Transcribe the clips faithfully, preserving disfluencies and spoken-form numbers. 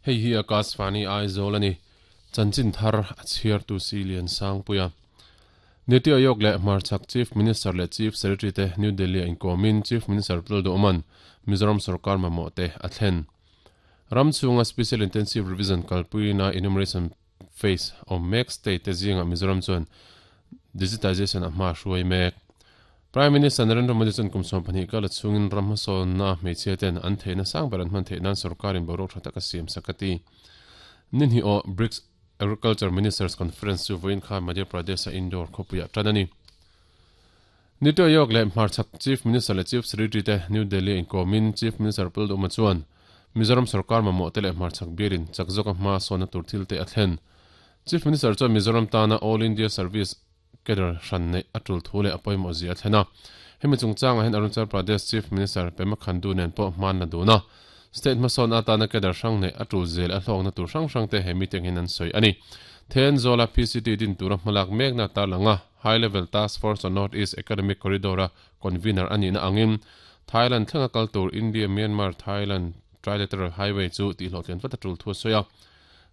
Hei hi Akashvani Aizawl ani. Chanchin thar a chhiar tu si lian sang puia. Niti Aayog leh Hmarchhak Chief Minister leh Chief Secretary te New Delhi a inkawmin Chief Minister Lalduhoman Mizoram Sarkar mamawh te a thlen. Ram chhunga Special Intensive Revision kalpuina enumeration phase awm mek state te zinga Mizoram chuan digitization a hma hruai mek. Prime Minister Narendra Modi chuan kum sawm pahnih kala chhungin ram hmasawnna hmeichhia ten an theihna sang ber an hman theih nan sarkarin boruak tha taka siam sak a ti. Ninhi aw BRICS Agriculture Ministers Conference chu vawiin khan Madhya Pradesh a Indore khawpuiah tan a ni. Niti Aayog leh Hmarchhak Chief Minister leh Chief Secretary te New Delhi a inkawmin Chief Minister Lalduhoma chuan Mizoram sarkar mamawh te leh Hmarchhak bialin chak zawka hma sawnna tur thil te a thlen. Chief Minister chuan Mizoram tana All India Service cadre hran neih a tul thu leh a pawimawh zia a thlen a. Hemi chungchangah hian Arunachal Pradesh Chief Minister Pema Khandu nen pawh hman la dun a. State hmasawn atana cadre hrang neih a tul zel a hlawkna tur hrang hrang te he meeting hian an sawi a ni. Thenzawl a P C T din tura hmalak mekna tarlanga High Level Task Force on North East Economic Corridor a convener a nihna angin Thailand thlenga kal tur India Myanmar Thailand Trilateral Highway chu tihhlawhtlian vat a tul thu a sawi a.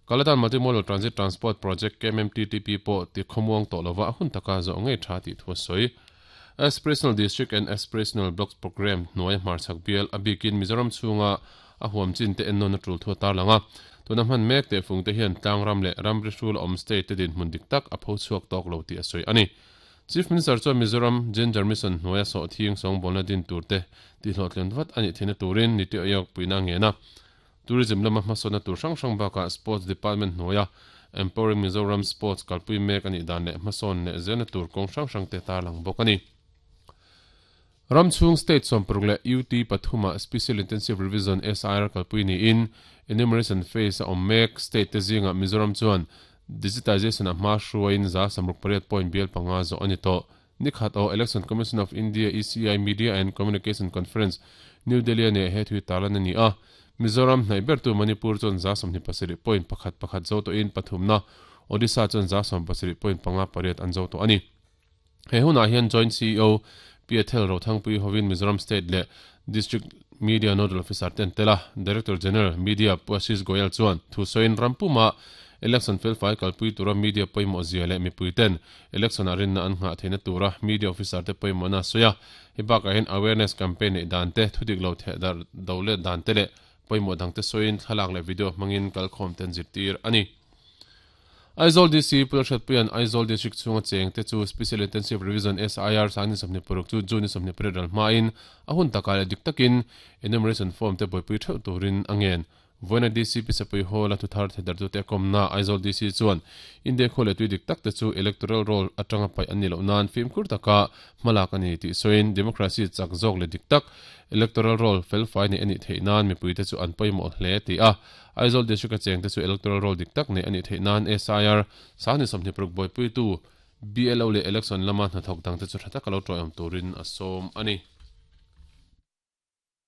Kaladan Multimodal Transit Transport Project K M M T T P pawh ti khawmuang tawh lova a hun taka zawh ngei tha tih thu a sawi. Aspirational District and Aspirational Blocks Programme hnuai hmarchhak bial a bikin Mizoram chhunga a huam chin te ennawn a tul thu a tarlang a. Tuna hman mek teh fung te hian tlangram leh ramri hrul awm state te dinhmun dik tak a pho chhuak tawk lo tih a sawi a ni. Chief Minister chuan Mizoram Gender Mission hnuaia sawh thing sawngbawlna din tur te tihhlawhtlian vat a nih theihna turin Niti Aayog puina ngen a. Tourism lama hmasawnna tur hrang hrang bakah Sports Department hnuaia Empowering Mizoram Sports kalpui mek a nih dan leh hmasawn leh zelna tur kawng hrang hrang te tarlang bawk a ni. Ram chhung state sawmparuk leh U T pathuma Special Intensive Revision S I R kalpui niin enumeration phase a awm mek state te zinga Mizoram chuan digitization a hma hruaiin za samruk pariat point bial panga zawh a ni tawh. Nikhat aw Election Commission of India E C I Media and Communication Conference New Delhi a neih he thui tarlan a ni a. Mizoram hnaih bertu Manipur chuan za sawmhnih pasarih point pakhat pakhat zo tawhin pathumna Odisha chuan za sawm pasarih point panga pariat an zo tawh a ni. He hunah hian Joint C E O P Ethel Rothangpui hovin Mizoram State leh District Media Nodal Officer ten tel a, Director General Media Pu Ashish Goyal chuan thu sawiin rampuma election felfai kalpui tura media pawimawh zia leh mipui ten election ah rinna an nghah theihna tura media officer te pawimawhna a sawi a. Hei bakah hian awareness campaign neih dan te, thudik lo theh dar do let dan te leh pawimawh dang te sawiin thlalak leh video hmangin kalkhawm ten zirtir a ni. Aizawl D C Pu Hriatpuia'n Aizawl District chhunga cheng te chu Special Intensive Revision S I R sangni sawmhnih paruk chu June ni sawmhnih pariat ral hmain a hun takah leh dik takin enumeration form te buaipui theuh turin a ngen. Vawiina D C P Sapui Hall a thuthar thedar tute a kawmna Aizawl D C chuan India khaw leh tui dik tak te chu electoral roll atanga paih an ni loh nan fimkhur taka hmalak a ni tih sawiin democracy chak zawk leh dik tak electoral roll felfai neih a nih theih nan mipui te chu an pawimawh hle ti a. Aizawl District a cheng te chu electoral roll dik tak neih a nih theih nan S I R sangni sawmhnih paruk buaipuitu B L O leh election lama hnathawk dang te chu tha taka lo tawiawm turin a sawm a ni.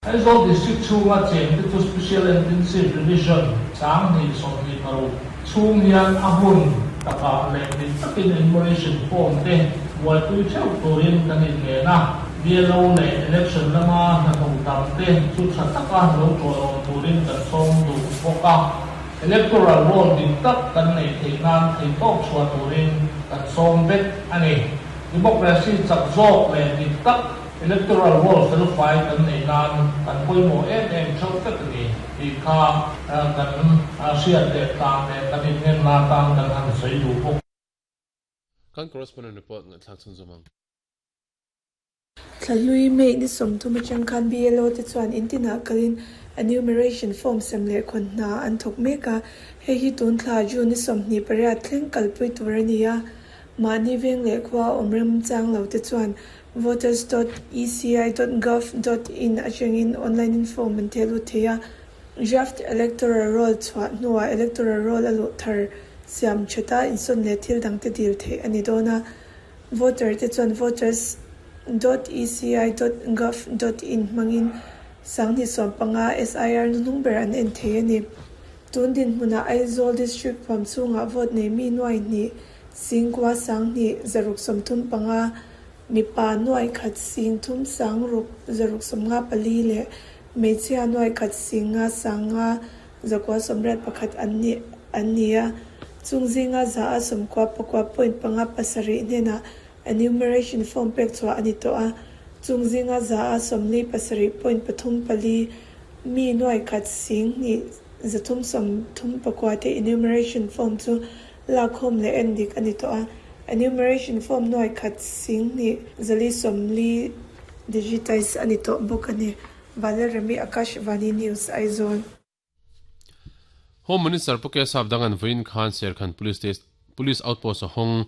Aizawl District chhunga cheng te chu Special Intensive Revision sanghnih sawmhnih paruk chhung hian a hun takah leh dik takin enumeration form te buaipui theuh turin kan inngen a. B L O leh election lama hnathawk dang te chu tha taka lo tawiawm turin kan sawm duh bawk a. Electoral roll dik tak kan neih theih nan theihtawk chhuah turin kan sawm vek a ni. Democracy chak zawk leh dik tak electoral roll felfai kan neih nan kan pawimawh em em theuh vek a ni tih kha kan hriat leh tlang leh kan inngen la tan kan han sawi duh bawk. Kan correspondent report ngaihthlak chhun zawm ang. Thlahlui May ni sawmthum atang khan B L O te chuan intinah kalin enumeration form sem leh khawn hna an thawk mek a. Hei hi tun thla June ni sawmhnih pariat thleng kalpui tur a ni a. Mahni veng leh khua awm remchang lo te chuan voters dot e c i dot gov dot in atangin online in form an theh lut thei a. Draft electoral roll chhuah hnuah electoral roll a luh thar siam thata insawn leh thil dang te dil theih a ni dawn a. Voter te chuan voters dot e c i dot gov dot in hmangin sangni sawm panga S I R nu hnung ber an en thei a ni. Tun din hmunah Aizawl District huam chhungah vote nei mi nuai hnih singkua sanghnih zaruk sawmthum panga mipa nuai khat sing thum sangruk zaruk sawmnga pali leh hmeichhia nuai khat singa sanga zakua sawmriat pakhat an ni an ni a chung zinga za a sawmkua pakua point panga pasarih hnenah enumeration form pek chhuah a ni tawh a chung zinga za a sawmli pasarih point pathum pali mi nuai khat sing hnih zathum sawmthum pakua te enumeration form chu lak khawm leh en dik a ni tawh a enumeration form nuai khat sing hnih zali sawmli digitize a ni tawh bawk a ni Vanlalremi Akashvani News Aizawl. Home Minister Pu K Sapdanga'n vawiin khan Serkhan Police Station Police Outpost a hawng.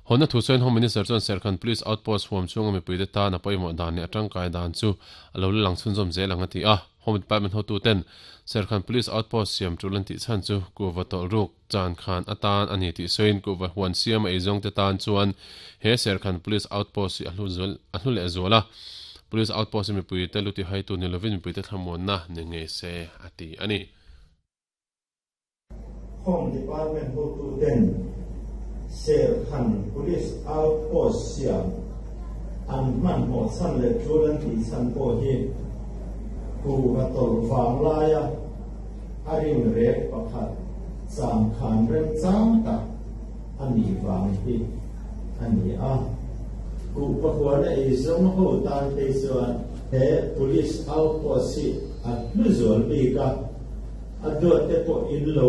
Hawnna thu sawiin Home Minister chuan Serkhan Police Outpost huam chhunga mipuite tan a pawimawh dan leh a tangkai dan chu a lo la lang chhunzawm zel ang a ti a. Home Department hotuten Serkhan Police Outpost siam tul an tih chhan chu kuhva tawlh ruk chan khan atan a ni tih sawiin kuhva huan siam a eizawng te tan chuan he Serkhan Police Outpost hi a hlu zual a hlu leh zual a. Police Outpost hi mipuite lu tihaitu ni lovin mipuite thlamuanna ni ngei se a ti a ni. Home Department hotuten Serkhan Police Outpost siam an hmanhmawh chhan leh tul an tih chhan pawh hi kuhva tawlh vang laia a rim rek pakhat changkhan remchang tak a nih vang hi a ni a. Kuhva huan a eizawng ho tan phei chuan he Police Outpost hi a hlu zual bik a, a duat te pawh in lo